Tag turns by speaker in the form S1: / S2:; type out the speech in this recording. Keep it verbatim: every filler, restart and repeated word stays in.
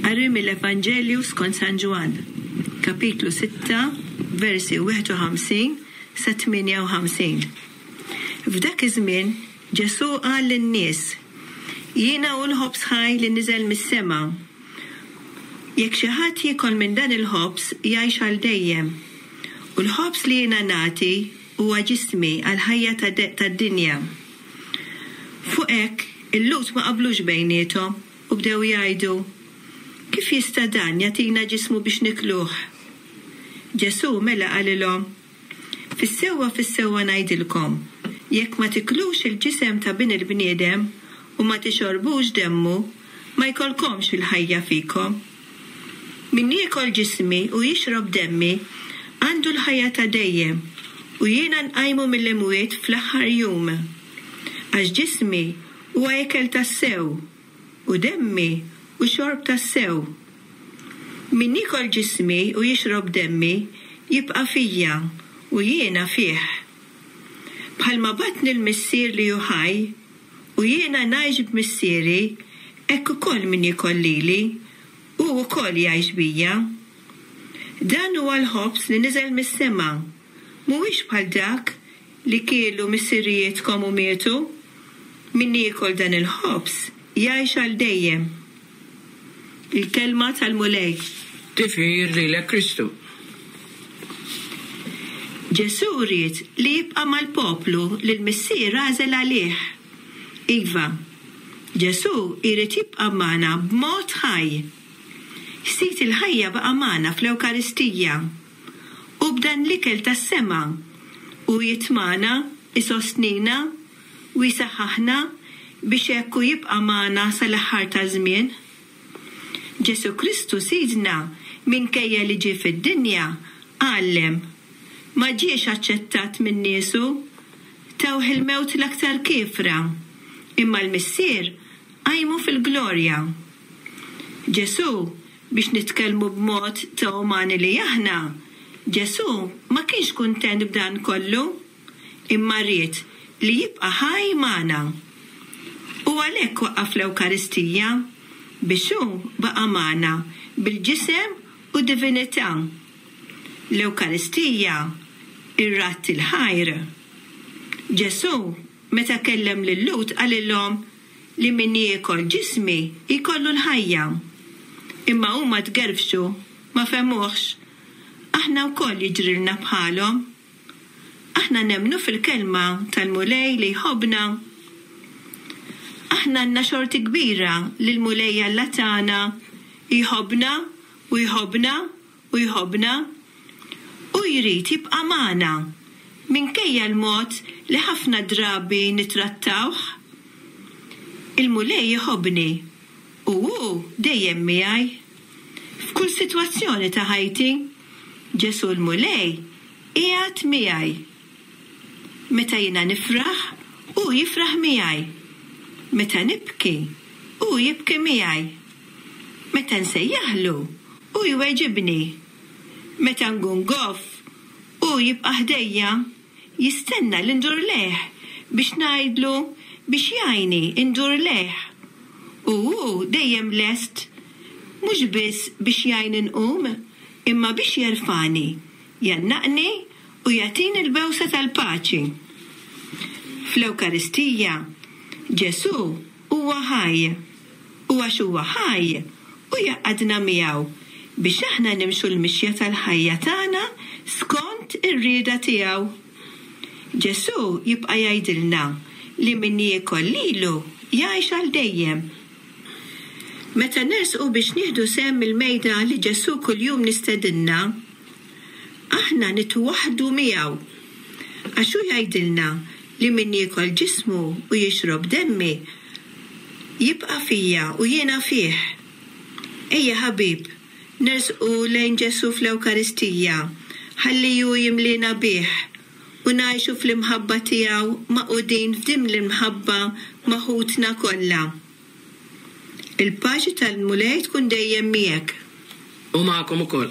S1: Qari mill-Evanġelju skont San Ġwann, kapitlu sitta, versi wieħed u ħamsin sa tmienja u ħamsin. F'dak iż-żmien Ġesù qal lin-nies, Jiena hu l-ħobż ħaj li niżel mis-sema. Jekk xi ħadd jiekol minn dan il-ħobż jgħix għal dejjem. U l-ħobż li jiena nagħti huwa ġismi għall-ħajja tad-dinja. Fuq hekk, il-Lhud ma qablux bejniethom u bdew jgħidu, Kif jista' dan jagħtina ġismu biex nikluh? Ġesù mela qalilhom, Fis-sewwa fis-sewwa ngħidilkom, jekk ma tiklux il-ġisem ta' Bin il-bniedem u ma tixorbux demmu, ma jkollkomx il-ħajja fikom. Min jiekol ġismi u jixrob demmi għandu l-ħajja ta' dejjem, u jiena nqajmu mill-imwiet fl-aħħar jum. Għax ġismi huwa ikel tassew, u demmi u xorb tassew. Min jiekol ġismi u jixrob demmi jibqa' fija u jiena fih. Bħalma bagħatni l-Missier li hu ħaj, u jiena ngħix b'missieri, hekk ukoll min jiekol lili, hu wkoll jgħix bija. Dan huwa l-ħobż li niżel mis-sema, mhuwiex bħal dak li kielu missirijietkom u mietu. Min jiekol dan il-ħobż jgħix għal dejjem. Il-kelma tal-Mulej.
S2: Tifħir lilek Kristu.
S1: Ġesù ried li jibqa' mal-poplu li l-Missier għażel għalih. Iva, Ġesù jrid jibqa' magħna b'mod ħaj. Sid il-ħajja baqa' magħna fl-Ewkaristija. U b'dan l-ikel tas-sema u jitmana, isostnina u jsaħħaħna biex hekk hu jibqa' magħna sal-aħħar taż-żmien. Ġesù Kristu Sidna, minkejja li ġie fid-dinja, għallem. Ma ġiex aċċettat minn niesu, tawh il-mewt l-aktar kiefra, imma l-Missier qajmu fil-glorja. Ġesù, biex nitkellmu b'mod ta' umani li aħna, Ġesù ma kienx kuntent b'dan kollu, imma ried li jibqa' ħaj magħna. U għalhekk waqqaf l-Ewkaristija, biex hu baqa' magħna bil-ġisem u divinità. L-Ewkaristija, ir-radd il-ħajr. Ġesù, meta kellem lil-Lhud, qalilhom li min jiekol ġismi jkollu l-ħajja. Imma huma tgerfxu, ma fehmuhx. Aħna wkoll jiġrilna bħalhom. Aħna nemmnu fil-kelma tal-Mulej li jħobbna. Aħna għandna xorti kbira li l-Mulej Alla tagħna jħobbna u jħobbna u jħobbna u jrid jibqa' magħna minkejja l-mod li ħafna drabi nittrattawh. Il-Mulej jħobbni u hu dejjem miegħi. F'kull sitwazzjoni ta' ħajti, Ġesù l-Mulej qiegħed miegħi. Meta jiena nifraħ, hu jifraħ miegħi. Meta nibki, hu jibki miegħi. Meta nsejjaħlu, hu jweġibni. Meta nkun goff, hu jibqa' ħdejja, jistenna li ndur lejh biex ngħidlu biex jgħinni ndur lejh. U hu dejjem lest, mhux biss biex jgħinni nqum, imma biex jerfani, jgħannaqni u jagħtini l-bewsa tal-paċi. Fl-Ewkaristija, Ġesù huwa ħaj, u għax huwa ħaj, hu jgħaqqadna miegħu biex aħna nimxu l-mixja tal-ħajja tagħna skont ir-rieda tiegħu. Ġesù jibqa' jgħidilna li min jiekol lilu jgħix għal dejjem. Meta nersqu biex nieħdu sehem mill-mejda li Ġesù kuljum nistedinna, aħna nitwaħħdu miegħu. Għax hu jgħidilna li min jiekol ġismu u jixrob demmi jibqa' fija u jiena fih. Ejja ħabib, nersqu lejn Ġesù fl-Ewkaristija, ħalli hu jimlina bih u ngħixu fl-imħabba tiegħu magħqudin f'din l-imħabba ma' ħutna kollha. Il-paċi tal-Mulej tkun dejjem miegħek.
S2: U magħkom ukoll.